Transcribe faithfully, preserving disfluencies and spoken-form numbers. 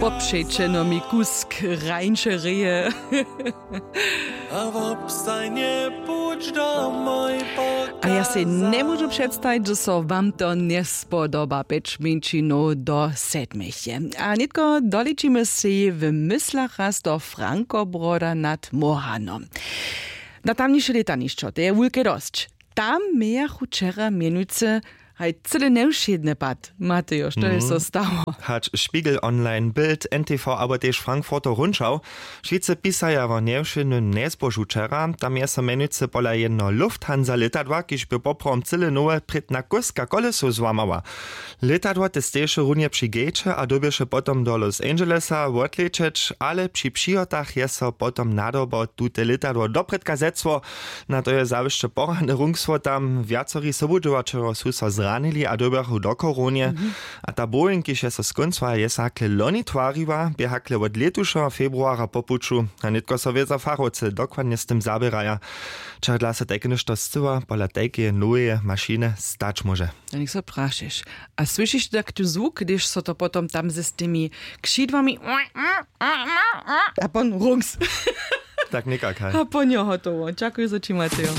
Popřećeno mi kusk rańše reje. A wobstajnje puć do moj. A ja sej njemóžu předstajić, zo so wam to njespodoba, pjeć mjeńšinow do sedmich je. A nětko doličimy sej w myslach raz do Frankobroda nad Mohanom. Na tamniše lětanišćo, to je wulke dosć. Tam mějachu wčera mjenujcy haj cyle njewšědny pad. Matejo, što je so stało? Hač Spiegel Online, Bild, N T V abo tež Frankfurter Rundschau, wšitcy pisaja wo njewšědnym njezbožu wčera. Tam je so mjenujcy pola jedno Lufthansa lětadła, kiž bě poprawom cyle nowe, prědna kóska kolesow złamała. Lětadło te steješe runje při gejće a dyrbješe potom do Los Angelesa wotlečeć, ale při přihotach je so potom nadobał tute lětadło doprědka zecło. Na to je zawěsće porany rungsło tam. Wjacori sobudźěłaćerjo su so zranili a dyrbjachu do chorownje. A ta Boeing, kiž je so skóncował, je so hakle loni twariła, bě hakle wot lětušeho februara po puću. A nětko so wězo fachowcy dokładnje z tym zaběraja, čehodla so tajke něšto scyła pola tajkeje noweje mašiny stać móže. A něk so prašeš. A słyšiš tak tu zwuk, hdyž so to potom tam z tymi křidłami a pon rungs. Tak někak, haj. A pon jo hotowo. Dźakuju, zo ći, Matejo.